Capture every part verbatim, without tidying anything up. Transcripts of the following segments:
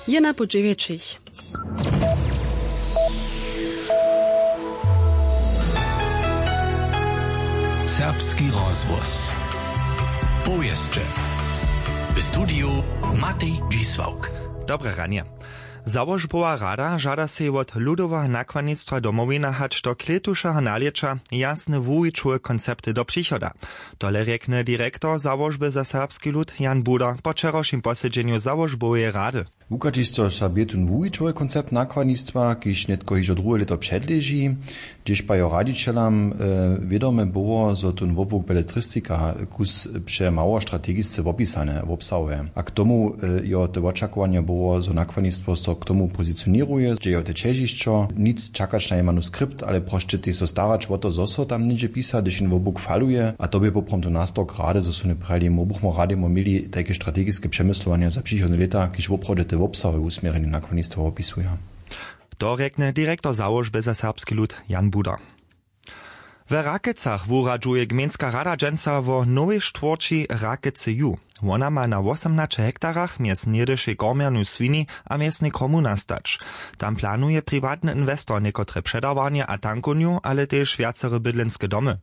Je na po dźewjećich. Serbski rozhłos. Powěsće. W studiju Matej Dźisławk. Dobre ranje. Załožbowa rada žada sej wot ludoweho nakładnistwa Domowiny hač do klětušeho nalěća jasne wuwićowe koncepty do přichoda. Tole rjekny direktor załožby za serbski lud Jan Buder po wčerawšim posedźenju załožboweje rady. Wuchadźišćo za bě tón wuwićowy koncept nakładnistwa, kiž nětko hižo druhe lěto předleži, hdźež pa jeho radźićelam, e, wědome było, zo tón wobłuk beletristika kus přemało strategisce wopisane wobsahuje. A k tomu, e, jo, te wočakowanje było, zo nakładnistwo so k tomu pozicioněruje, dźe jo te ćežišćo, nic čakać na jej manuskript, ale prosće tež so starać wo to, zo so tam něhdźe pisa, hdyž jen wobłuk faluje. A to bě poprawom to nastawk rady, zo su nje prajili, mo buchmo rady mo měli tajke strategiske přemyslowanja za přichodne lěta, kiž woprawdźe te wobsahowe wusměrjenje nakładnistwa wopisuja. To rjekny direktor załožby za serbski lud Jan Buder. W Rakecach wuradźuje gmejnska rada dźensa wo nowej štwórći Rakece ju. Wona ma na wosomnaće hektarach mjez něhdyšej kormjernu swini a mjeznej kromu nastać. Tam planuje priwatny inwestor někotre předawarnje a tankownju, ale tež wjacere bydlenske domy.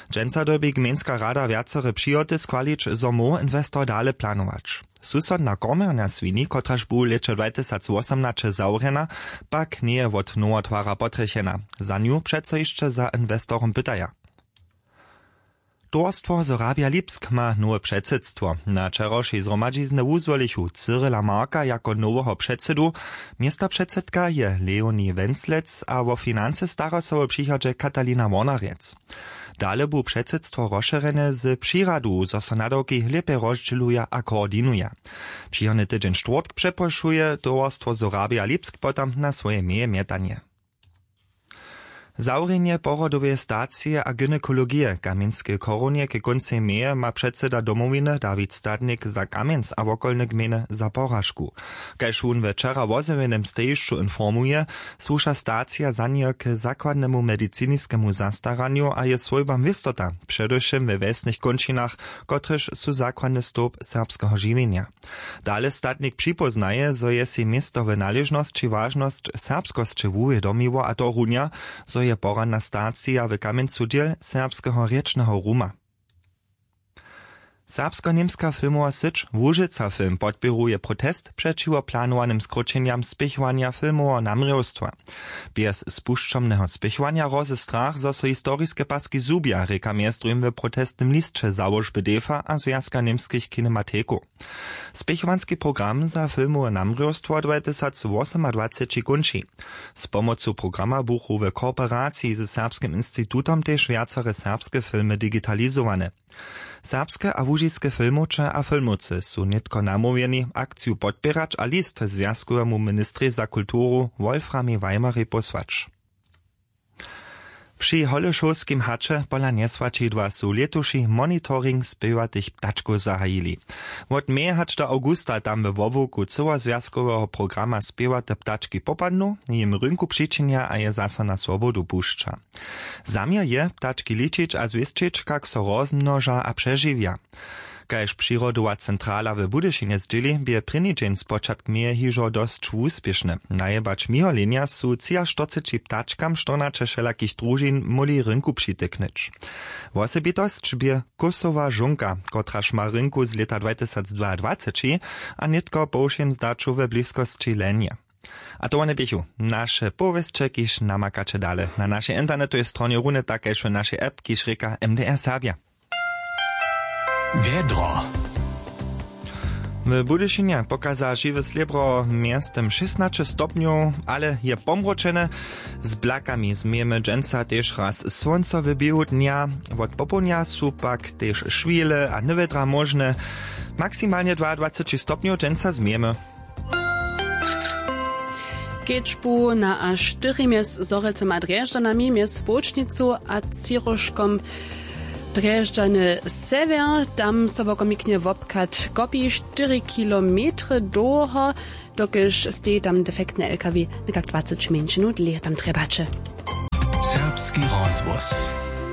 Dźensa dyrbi gmejnska rada wjacere přihoty schwalić, zo móhł inwestor dale planować. Susodna kormjerna swini, kotraž bu w lěće dwatysacwosomnaće zawrjena, pak njeje wot nowotwara potrjechena. Za nju přeco hišće za inwestorom pytaja. Towarstwo Sorabia Lipsk ma nowe předsydstwo. Na wčerawšej zhromadźiznje wuzwolichu Cyrila Marka jako noweho předsydu. Městopředsydka je Leonie Wenslec a wo financy stara so w přichodźe Katalina Wornarjec. Dale bu předsydstwo rozšěrjene z přiradu, zo so nadawki lěpje rozdźěluja a koordinuja. Přichodny tydźeń štwórtk přeprošuje towarstwo Sorabia Lipsk potom na swoje meje mjetanje. Zawrjenje porodoweje stacije a gynekologije w Kamjenskej chorunje k kóncej meje ma předsyda Domowiny Dawid Stadnik za Kamjenc a wokolne gmejny za poražku. Kaž wón we wčera wozjewjenym stejišću informuje, słuša stacija za njeho k zakładnemu mediciniskemu zastaranju a je swójbam wěstota, předewšěm we wjesnych kónčinach, kotrež su zakładny stołp serbskeho žiwjenja. Dale Stadnik připóznaje, zo je sej město w naležnosći wažnosć serbskosće wuwědomiło, a to runja, zo je poradna stacija w Kamjencu dźěl serbskeho rěčneho ruma. Serbsko-němska filmowa syć Łužica Film podpěruje protest přećiwo planowanym skróćenjam spěchowanja filmoweho namrěwstwa. Bjez spušćomneho spěchowanja hrozy strach, zo so historiske paski zhubja, rěka mjez druhim w protestnym lisće załožby defa a Zwjazka němskich kinematikow. Spěchowanski program za filmowe namrěwstwo dwatysacwosomadwaceći kónči. Z pomocu programa buchu w kooperaciji ze Serbskim institutom tež wjacere serbske filmy digitalizowane. Serbske a łužiske filmowče a filmowcy su nětko namołwjeni, akciju podpěrać a list zwjazkowemu ministrej za kulturu Wolframej Weimerej pósłać. Při Holešowskim haće pola njeswaćidła su lětuši monitoring spěwatych ptačkow zahajili. Wot meje hač do awgusta tam we wobłuku cyłozwjazkoweho programa spěwate ptački popadnu, jim rynku přičinja a je zaso na swobodu pušća. Zaměr je, ptački ličić a zwěsćić, kak so rozmnoža a přežiwja. Kaž přirodowa centrala w Budyšinje zdźěli, bě prěni dźeń spočatk meje hižo dosć wuspěšny. Najebać miholenja su třiaštyrceći ptačkam štyrnaće wšelakich družin móhli rynku přityknyć. Wosebitosć bě kósowa žónka, kotraž ma rynku z lěta dwatysacdwaadwaceći a nětko po wšěm zdaću we bliskosći lenje. A to wone běchu naše powěsće, kiž namakaće dale na našej internetowej stronje runje tak kaž w našej app, kiž rěka M D R Serbja. Wjedro. W Budyšinje pokaza žiwe slěbro mjeztym šěsnaće stopnjow, ale je pomročene. Z blakami změjemy dźensa tež raz słónco w běhu dnja. Wot popołdnja su pak tež šwile a nywjedra móžne. Maksimalnje dwaadwaceći stopnjow dźensa změjemy. Kedźbu na a štyri mjez Zhorjelcem a Drježdźanami, mjez Połčnicu a Třiróžkom Drježdźany sewjer, tam so wokomiknje wobchad kopi štyri kilometry dołho, dokelž steji tam defektny L K W, někak dwaceći mjeńšinow dlěje tam trjebaće. Serbski rozhłos.